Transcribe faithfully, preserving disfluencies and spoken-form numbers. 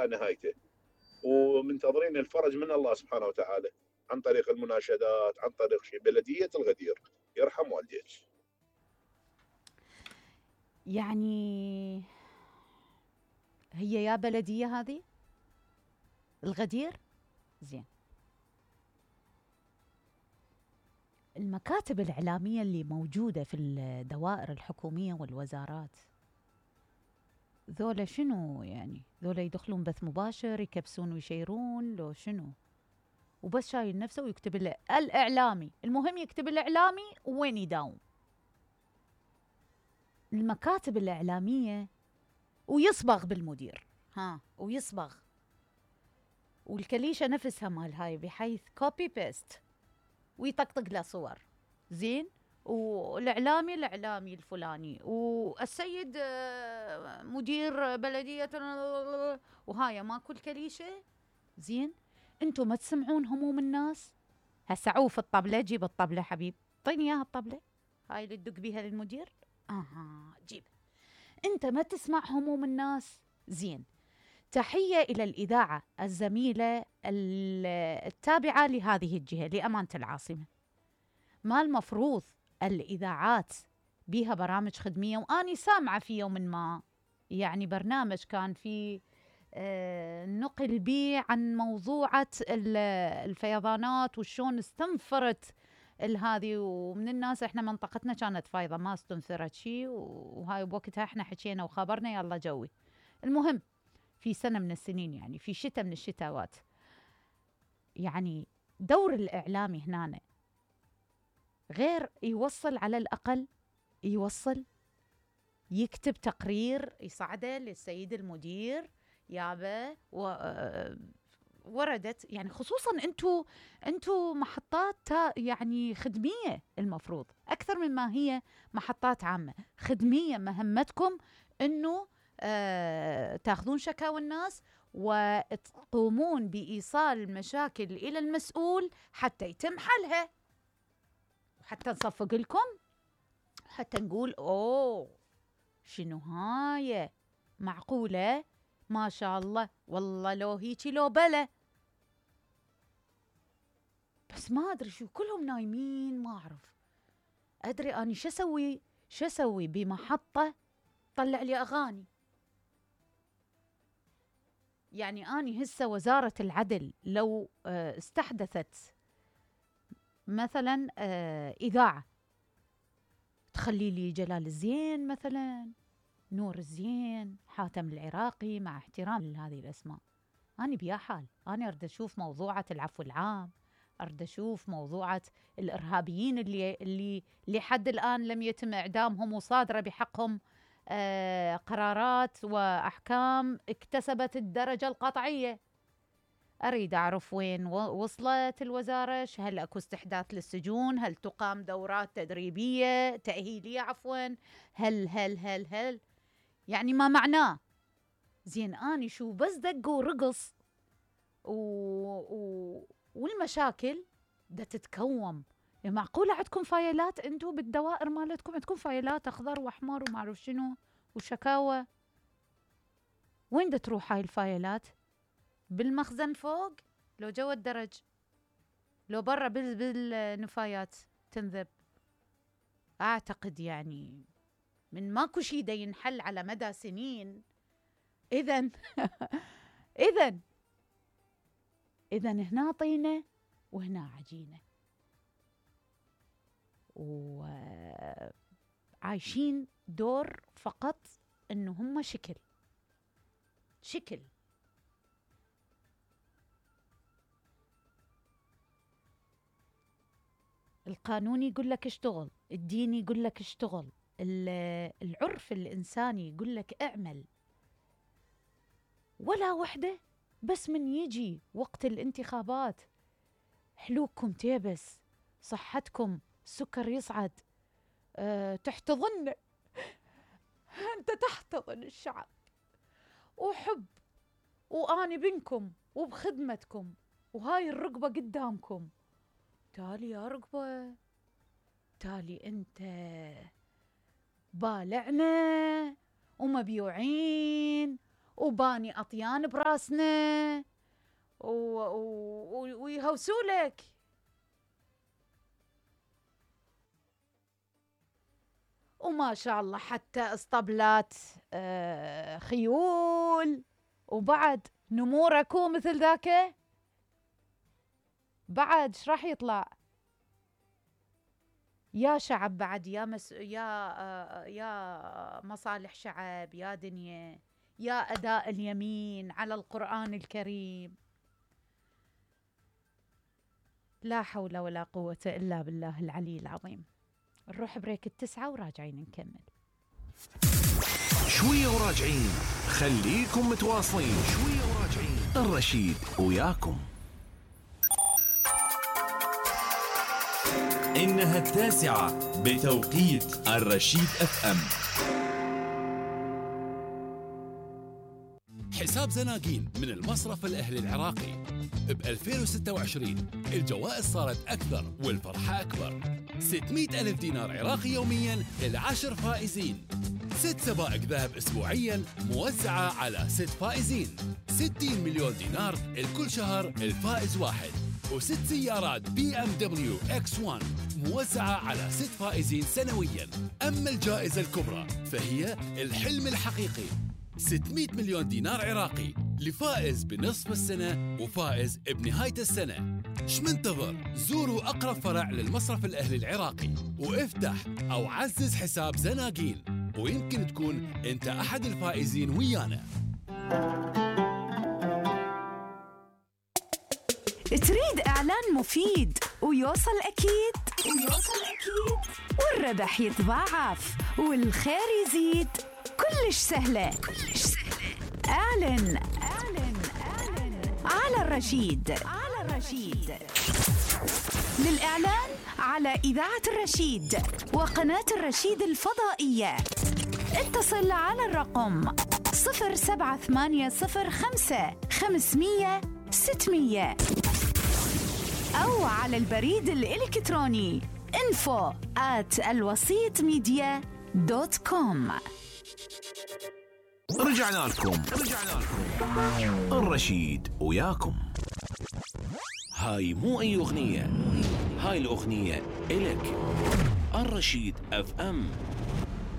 الى نهايته، ومنتظرين الفرج من الله سبحانه وتعالى عن طريق المناشدات، عن طريق شيء. بلديه الغدير يرحم والديك. يعني هي يا بلديه هذه الغدير زين. المكاتب الإعلامية اللي موجودة في الدوائر الحكومية والوزارات ذولا شنو يعني؟ ذولا يدخلون بث مباشر يكبسون ويشيرون لو شنو؟ وبس شايل نفسه ويكتب له الإعلامي. المهم يكتب الإعلامي وين يداوم. المكاتب الإعلامية ويصبغ بالمدير، ها ويصبغ، والكليشة نفسها مال هاي بحيث كوبي بيست ويطقطق له صور زين، والإعلامي الإعلامي الفلاني، والسيد مدير بلدية، وهاي ماكو الكليشة زين. انتم ما تسمعون هموم الناس؟ هسه عوف الطبلة، جيب الطبلة حبيب، طيني اياها الطبلة هاي اللي تدق بيها للمدير. اها جيب. انت ما تسمع هموم الناس؟ زين. تحية إلى الإذاعة الزميلة التابعة لهذه الجهة لأمانة العاصمة. ما المفروض الإذاعات بيها برامج خدمية؟ وأني سامعة في يوم ما يعني برنامج كان في آه نقل بي عن موضوعة الفيضانات وشون استنفرت هذه، ومن الناس احنا منطقتنا كانت فايضة ما استنفرت شيء، وهاي بوقتها احنا حكينا وخبرنا يلا جوي. المهم في سنة من السنين يعني في شتاء من الشتاوات، يعني دور الإعلامي هنا غير يوصل، على الأقل يوصل يكتب تقرير يصعده للسيد المدير يابا وردت، يعني خصوصا انتو انتو محطات يعني خدمية، المفروض أكثر مما هي محطات عامة خدمية. مهمتكم انه آه تاخذون شكاوى الناس وتقومون بإيصال المشاكل إلى المسؤول حتى يتم حلها، حتى نصفق لكم، حتى نقول أوه شنو هاي معقولة ما شاء الله والله لو هيجي لو بلا. بس ما أدري شو كلهم نايمين، ما أعرف أدري أني شو أسوي شو أسوي بمحطة طلع لي أغاني. يعني أني هسه وزارة العدل لو استحدثت مثلا إذاعة تخلي لي جلال الزين مثلا، نور الزين، حاتم العراقي، مع احترام لهذه الأسماء، أنا بيا حال. أنا أريد أشوف موضوعة العفو العام، أريد أشوف موضوعة الإرهابيين اللي اللي لحد الآن لم يتم إعدامهم وصادرة بحقهم آه قرارات وأحكام اكتسبت الدرجة القطعية. أريد أعرف وين وصلت الوزارة، هل أكو استحداث للسجون، هل تقام دورات تدريبية تأهيلية عفوا، هل هل هل هل يعني ما معناه زين. أني شو بس دق ورقص و... و... والمشاكل دا تتكوم. يعني معقولة عندكم فايلات انتو بالدوائر مالتكم؟ عندكم فايلات أخضر وأحمر وما أعرف شنو وشكاوى؟ وين دا تروح هاي الفايلات؟ بالمخزن فوق لو جوا الدرج، لو برا بالنفايات تنذب؟ أعتقد يعني من ماكو شي دا ينحل على مدى سنين. إذن إذن إذن هنا طينة وهنا عجينة، وعايشين دور فقط إنه هم شكل شكل. القانون يقول لك اشتغل، الدين يقول لك اشتغل، العرف الإنساني يقول لك اعمل، ولا وحدة. بس من يجي وقت الانتخابات حلوكم تيبس، صحتكم السكر يصعد، أه تحتضن أنت تحتضن الشعب وحب، وأنا بينكم وبخدمتكم، وهاي الرقبة قدامكم. تالي يا رقبة، تالي أنت بالعنا ومبيوعين وباني أطيان براسنا و... و... ويهوسولك. وما شاء الله حتى اسطبلات آه خيول، وبعد نمور اكو مثل ذاك بعد ايش راح يطلع؟ يا شعب بعد، يا مس... يا آه يا مصالح شعب، يا دنيا، يا أداء اليمين على القرآن الكريم. لا حول ولا قوة إلا بالله العلي العظيم. نروح بريك التسعة وراجعين نكمل. شوية وراجعين، خليكم متواصلين. شوية وراجعين، الرشيد وياكم. إنها التاسعة بتوقيت الرشيد اف ام. حساب زناقين من المصرف الأهلي العراقي ب ألفين وستة وعشرين الجوائز صارت أكثر والفرحة أكبر. ستمئة ألف دينار عراقي يومياً للعشر فائزين. ست سبائك ذهب أسبوعياً موزعة على ست فائزين. ستين مليون دينار الكل شهر الفائز واحد. وست سيارات بي ام دبليو اكس واحد موزعة على ست فائزين سنوياً. أما الجائزة الكبرى فهي الحلم الحقيقي، ستمئة مليون دينار عراقي لفائز بنصف السنة وفائز بنهاية السنة. ايش منتظر؟ زوروا أقرب فرع للمصرف الأهلي العراقي وافتح أو عزز حساب زناقين، ويمكن تكون أنت أحد الفائزين ويانا. تريد إعلان مفيد ويوصل أكيد ويوصل أكيد والربح يتضاعف والخير يزيد؟ كلش سهلة كلش سهلة. اعلن اعلن اعلن على الرشيد على الرشيد. للإعلان على إذاعة الرشيد وقناة الرشيد الفضائية اتصل على الرقم صفر سبعة ثمانية صفر خمسة خمسمية ستمية أو على البريد الإلكتروني info at الوسيط ميديا دوت كوم. رجعنا لكم رجعنا لكم الرشيد وياكم. هاي مو أي أغنية، هاي الأغنية إلك. الرشيد اف ام.